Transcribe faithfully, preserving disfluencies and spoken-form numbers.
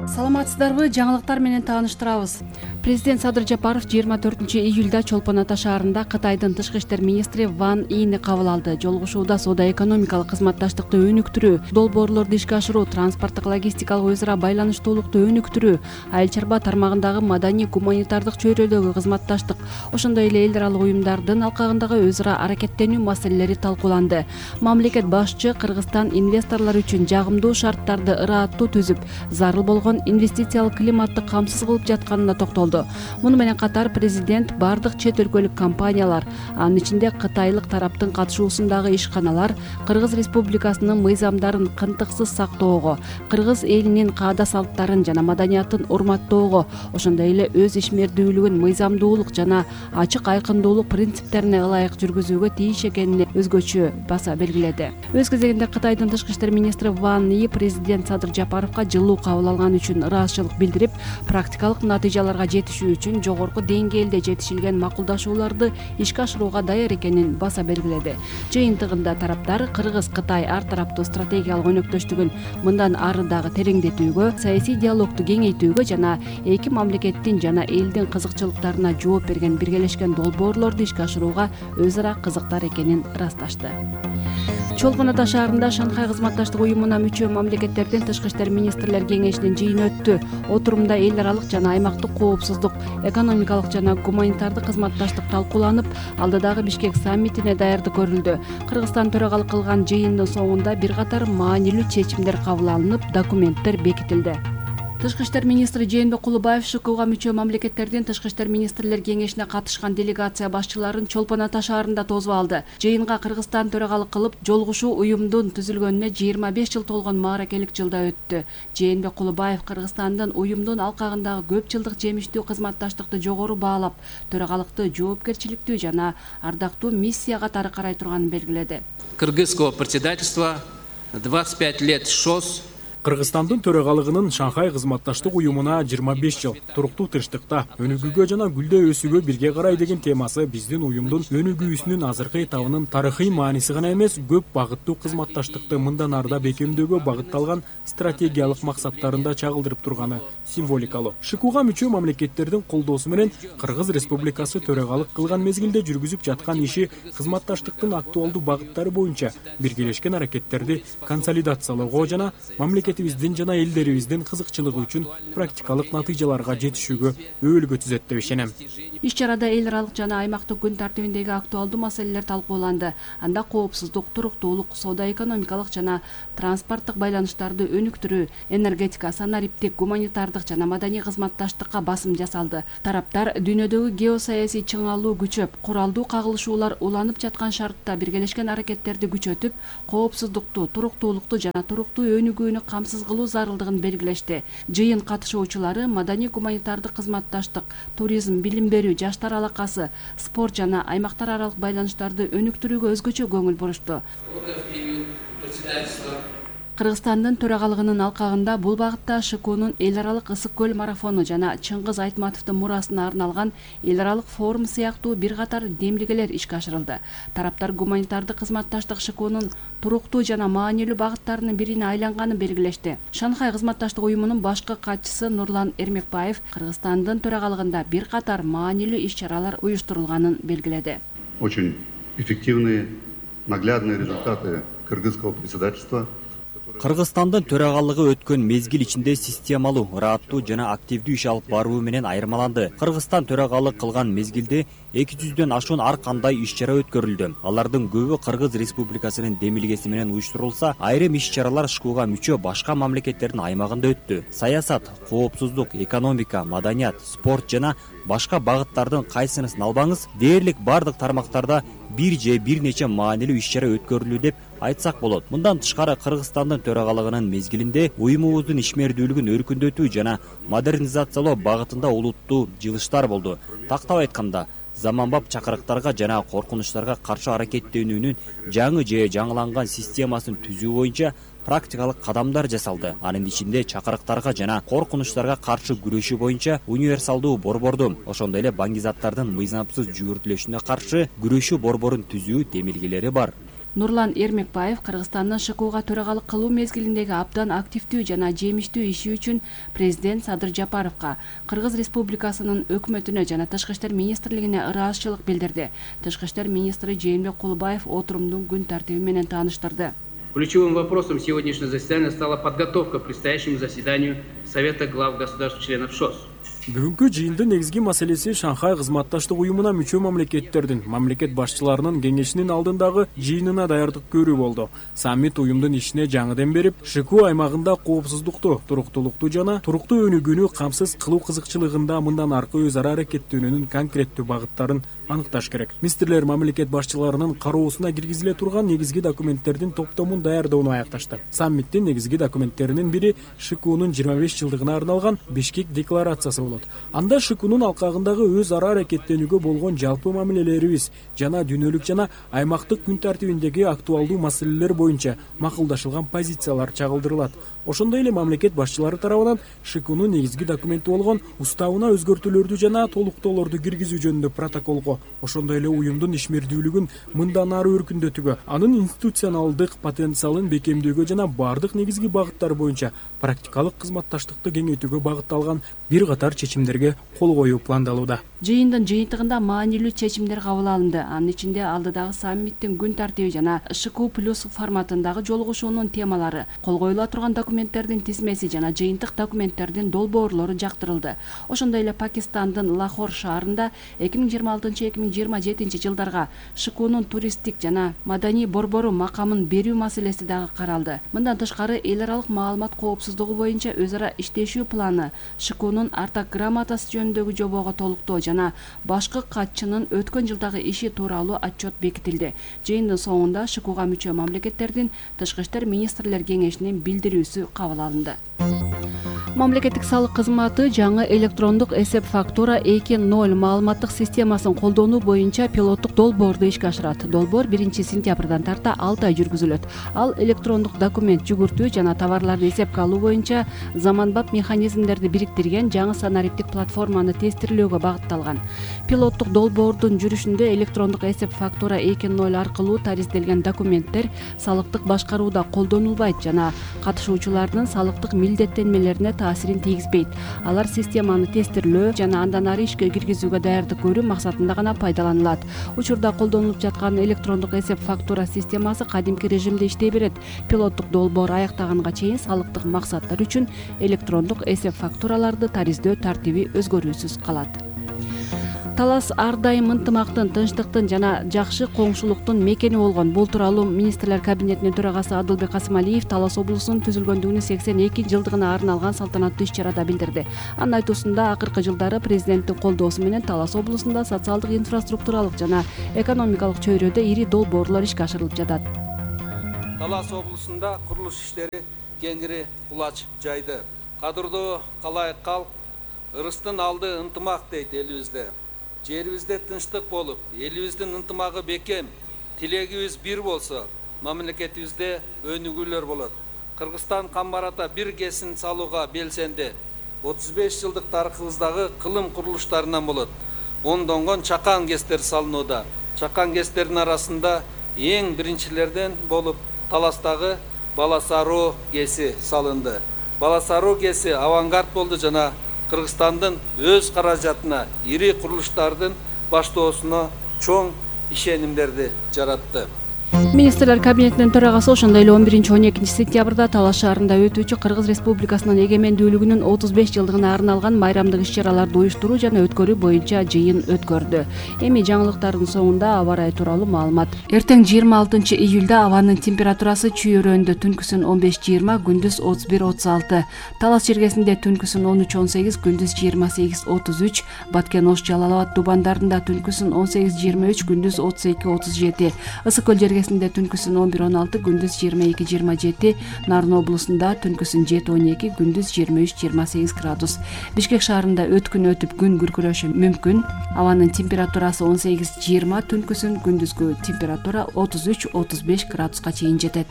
Саламатсыздарбы? Жаңылыктар менен тааныштырабыз. Президент Садыр Жапаров жыйырма төртүнчү июлда Чолпон Ата шаарында Кытайдын тышкы иштер министри Ван Ийни кабыл алды. Жолугушууда соода-экономикалык кызматташтыкты өнүктүрүү, долбоорлорду ишке ашыруу, транспорттук логистикалык өз ара байланыштуулукту өнүктүрүү, айыл чарба тармагындагы маданий гуманитардык чөйрөдөгү кызматташтык, ошондой эле эл аралык уюмдардын алкагындагы өз ара аракеттенүү маселелери талкууланды. Мамлекет башчы Кыргызстан инвесторлор үчүн жагымдуу шарттарды ырааттуу түзүп, зарыл болгон инвестициялык климатты камсыз кылып жатканына токтолду. Муну менен катар президент бардык чет өлкөлүк компаниялар, анын ичинде кытайлык тараптын катышуусундагы ишканалар Кыргыз Республикасынын мыйзамдарын кынтыксыз сактоого, кыргыз элинин каада салттарын жана маданиятын урматтоого, ошондой эле өз ишмердүүлүгүн мыйзамдуулук жана ачык айкындуулук принциптерине ылайык жүргүзүүгө тийиш экенине өзгөчө баса белгиледи. Өз кезегинде Кытайдын тышкы иштер министри Ван Yi президент Садыр Жапаровго жылуу кабыл алган үчүн ыраазычылык билдирип, практикалык натыйжаларга жетишүү үчүн жогорку деңгээлде жетишилген макулдашууларды ишке ашырууга даяр экенин баса белгиледи. Жыйынтыгында тараптар Кыргыз-Кытай ар тараптуу стратегиялык өнөктөштүгүн мындан ары дагы тереңдетүүгө, саясий диалогду кеңейтүүгө жана эки мамлекеттин жана элдин кызыкчылыктарына жооп берген биргелешкен долбоорлорду ишке ашырууга өз ара кызыктар экенин ырасташты. Чолпон Ата шаарында Шанхай кызматташтык уюмуна мүчө мамлекеттердин тышкы иштер министрлер кеңешинин жыйыны өттү. Отурумда эл аралык жана аймактык коопсуздук, экономикалык жана гуманитардык кызматташтык талкууланып, алдыдагы Бишкек саммитине даярдык көрүлдү. Кыргызстан төрагалык кылган жыйындын соңунда бир катар маанилүү чечимдер кабыл алынып, документтер бекитилди. Тышкы иштер министри Жээнбек Кулубаев ШКУга мүчө мамлекеттердин тышкы иштер министрлер кеңешине катышкан делегация башчыларын Чолпон Ата шаарында тосуп алды. Жыйынга Кыргызстан төрагалык кылып, жолугушуу уюмдун түзүлгөнүнө жыйырма беш жыл толгон мааракелик жылда өттү. Жээнбек Кулубаев Кыргызстандын уюмдун алкагындагы көп жылдык жемиштүү кызматташтыкты жогору баалап, төрагалыкты жоопкерчиликтүү жана ардактуу миссия катары карай турганын белгиледи. Кыргызского председательства двадцать пять лет ШОС. Кыргызстандын төрагалыгынын Шанхай кызматташтык уюмуна жыйырма беш жыл туруктуу тынчтыкта, өнүгүүгө жана гүлдөй өсүүгө бирге карай деген темасы биздин уюмдун өнүгүүсүнүн азыркы этабынын тарыхый мааниси гана эмес, көп багыттуу кызматташтыкты мындан ары да бекемдөөгө багытталган стратегиялык максаттарында чагылдырып турганы символикалуу. ШКУга мүчө мамлекеттердин колдоосу менен Кыргыз Республикасы төрагалык кылган мезгилде жүргүзүп жаткан иши кызматташтыктын актуалдуу багыттары боюнча биргелешкен аракеттерди консолидациялоого жана мамлекетибиздин жана элдерибиздин кызыкчылыгы үчүн практикалык натыйжаларга жетишүүгө өбөлгө түзөт деп ишенем. Иш чарада эл аралык жана аймактык күн тартибиндеги актуалдуу маселелер талкууланды. Анда коопсуздук, туруктуулук, соода-экономикалык жана транспорттук байланыштарды өнүктүрүү, энергетика, санариптик, гуманитардык жана маданий кызматташтыкка басым жасалды. Тараптар дүйнөдөгү геосаясий чыңалуу күчөп, куралдуу кагылышуулар уланып жаткан шартта биргелешкен аракеттерди күчөтүп, коопсуздукту, туруктуулукту жана туруктуу өнүгүүнү камсыз кылуу зарылдыгын белгилешти. Жыйын катышуучулары маданий гуманитардык кызматташтык, туризм, билим берүү, жаштар алакасы, спорт жана аймактар аралык байланыштарды өнүктүрүүгө өзгөчө көңүл бурушту. Кыргызстандын төрагалыгынын алкагында бул багытта ШКУнун эл аралык ысык көл марафону жана Чыңгыз Айтматовдун мурасына арналган эл аралык форум сыяктуу бир катар демилгелер ишке ашырылды. Тараптар гуманитардык кызматташтык ШКУнун туруктуу жана маанилүү багыттарынын бирине айланганын белгилешти. Шанхай кызматташтык уюмунун башкы катчысы Нурлан Эрмекбаев Кыргызстандын төрагалыгында бир катар маанилүү иш-чаралар уюштурулганын белгиледи. Очень эффективные, наглядные результаты кыргызского председательства. Кыргызстандын төрагалыгы өткөн мезгил ичинде системалуу, ырааттуу жана активдүү иш алып баруу менен айырмаланды. Кыргызстан төрагалык кылган мезгилде эки жүздөн ашуун ар кандай иш-чара өткөрүлдү. Алардын көбү Кыргыз Республикасынын демилгеси менен уюштурулса, айрым иш-чаралар ШКУга мүчө башка мамлекеттердин аймагында өттү. Саясат, коопсуздук, экономика, маданият, спорт жана башка багыттардын кайсынысын албаңыз, дээрлик бардык тармактарда бир же бир нече маанилүү иш-чара өткөрүлдү деп айтсак болот. Мындан тышкары Кыргызстандын төрагалыгынын мезгилинде уюмубуздун ишмердүүлүгүн өркүндөтүү жана модернизациялоо багытында улуттуу жылыштар болду. Тактап айтканда, заманбап чакырыктарга жана коркунучтарга каршы аракеттенүүнүн жаңы же жаңыланган системасын түзүү боюнча практикалык кадамдар жасалды. Анын ичинде чакырыктарга жана коркунучтарга каршы күрөшүү боюнча универсалдуу борборду, ошондой эле баңгизаттардын мыйзамсыз жүгүртүлүшүнө каршы күрөшүү борборун түзүү демилгелери бар. Нурлан Эрмекбаев Кыргызстандын ШКУга төрагалык кылуу мезгилиндеги абдан активдүү жана жемиштүү иши үчүн президент Садыр Жапаровго, Кыргыз Республикасынын өкмөтүнө жана Тышкы иштер министрлигине ыраазычылык билдирди. Тышкы иштер министри Жээнбек Кулбаев отурумдун күн тартиби менен тааныштырды. Ключевым вопросом сегодняшнего заседания стала подготовка к предстоящему заседанию Совета глав государств-членов ШОС. Бүгүнкү жыйындын негизги маселеси Шанхай кызматташтык уюмуна мүчө мамлекеттердин мамлекет башчыларынын кеңешинин алдындагы жыйынына даярдык көрүү болду. Саммит уюмдун ишине жаңыдан берип, ШКУ аймагында коопсуздукту, туруктуулукту жана туруктуу өнүгүүнү камсыз кылуу кызыкчылыгында мындан аркы өз ара аракеттөөнүнүн конкреттүү багыттарын аныкташ керек. Министрлер мамлекет башчыларынын кароосуна киргизиле турган негизги документтердин топтомун даярдоону аякташты. Саммиттин негизги документтеринин бири ШКУнун жыйырма беш жылдыгына арналган Бишкек декларациясы болот. Анда ШКУнун алкагындагы өз ара аракеттенүүгө болгон жалпы мамилелерибиз жана дүйнөлүк жана аймактык күн тартибиндеги актуалдуу маселелер боюнча макулдашылган позициялар чагылдырылат. Ошондой эле мамлекет башчылары тарабынан ШКУнун негизги документи болгон уставына өзгөртүүлөрдү жана толуктоолорду киргизүү жөнүндө протоколго, ошондой эле уюмдун ишмердүүлүгүн мындан ары өркүндөтүүгө, анын институционалдык потенциалын бекемдөөгө жана бардык негизги багыттар боюнча практикалык кызматташтыкты кеңейтүүгө багытталган бир катар чечимдерге кол коюу пландалууда. Жыйындын жыйынтыгында маанилүү чечимдер кабыл алынды. Анын ичинде алдыдагы саммиттин күн тартиби жана ШКУ плюс форматындагы жолугушуунун темалары, кол коюла турган документтердин тизмеси жана жыйынтык документтердин долбоорлору жактырылды. Ошондой эле Пакистандын Лахор шаарында эки миң жыйырма алтынчы эки миң жыйырма жетинчи жылдарга ШКУнун туристтик жана маданий борбору макамын берүү маселеси дагы каралды. Мындан тышкары эл аралык маалымат коопсуздугу боюнча өз ара иштешүү планы, ШКУнун артак грамотасы жөнүндөгү жобого толуктоо жана башкы катчынын өткөн жылдагы иши тууралуу отчет бекитилди. Жыйындын соңунда ШКУга мүчө мамлекеттердин Тышкы иштер министрлер кеңешинин билдирүүсү кабыл алынды. Мамлекеттик салык кызматы жаңы электрондук эсеп фактура эки ноль маалыматтык системасын колдонуу боюнча пилоттук долбоорду ишке ашырат. Долбоор биринчи сентябрдан тарта алты ай жүргүзүлөт. Ал электрондук документ жүгүртүү жана товарларды эсепке алуу боюнча заманбап механизмдерди бириктирген жаңы санариптик платформаны тестирлөөгө багытталган. Пилоттук долбоордун жүрүшүндө электрондук эсеп фактура эки ноль аркылуу таризделген документтер салыктык башкарууда колдонулбайт жана катышуучулардын салыктык милдеттенмелерине таасирин тийгизбейт. Алар системаны тестирлөө жана андан ары ишке киргизүүгө даярдык көрүү максатында гана пайдаланылат. Учурда колдонулуп жаткан электрондук эсеп фактура системасы кадимки режимде иштей берет. Пилоттук долбоор аяктаганга чейин салыктык максаттар үчүн электрондук эсеп фактураларды тариздөө тартиби өзгөрүүсүз калат. Талас ар дайым ынтымактын, тынчтыктын жана жакшы коңшулуктун мекени болгон. Бул тууралуу министрлер кабинетинин төрагасы Адылбек Касымалиев Талас облусунун түзүлгөндүгүнүн сексен экинчи жылдыгына арналган салтанаттуу иш-чарада билдирди. Анын айтуусунда акыркы жылдары президенттин колдоосу менен Талас облусунда социалдык, инфраструктуралык жана экономикалык чөйрөдө ири долбоорлор ишке ашырылып жатат. Талас облусунда курулуш иштери кеңири кулач жайды. Кадырлуу калайык калк, ырыстын алды ынтымак дейт элибизде. Жерибизде тынчтык болуп, элибиздин ынтымагы бекем, тилегибиз бир болсо, мамлекетибизде өнүгүүлөр болот. Кыргызстан камбарата бир кесин салууга белсенди. отуз беш жылдык тарыхыбыздагы кылым курулуштарынан болот. Ондонгон чакан кестер салынууда. Чакан кестердин арасында эң биринчилерден болуп Таластагы Баласаруу кеси салынды. Баласаруу кеси авангард болду жана Кыргызстандын өз каражатына ири курулуштардын баштоосуна чоң ишенимдерди жаратты. Министрлер кабинетинин төрагасы ошондой эле он биринчи он экинчи сентябрда Талас шаарында өтүүчү Кыргыз Республикасынын эгемендүүлүгүнүн отуз беш жылдыгына арналган майрамдык иш-чараларды уюштуруу жана өткөрүү боюнча жыйын өткөрдү. Эми жаңылыктардын соңунда аба ырайы тууралуу маалымат. Эртең жыйырма алтынчы июлда абанын температурасы чүйөрөндө түнкүсүн он беш жыйырма, күндүз отуз бир отуз алты. Талас жергесинде түнкүсүн он үч он сегиз, күндүз жыйырма сегиз отуз үч. Баткен, Ош, Жалал Абад тубандарында түнкүсүн он сегиз жыйырма үч, күндүз отуз эки отуз жети. Ысык көл жергесинде түнкүсүн он бир он алты, күндүз жыйырма эки жыйырма жети. Нарын облусунда түнкүсүн жети он эки, күндүз жыйырма үч жыйырма сегиз градус. Бишкек шаарында өткүн өтүп күн күркүрөшү мүмкүн. Абанын температурасы он сегиз жыйырма, түнкүсүн күндүзгү температура отуз үч отуз беш градуска чейин жетет.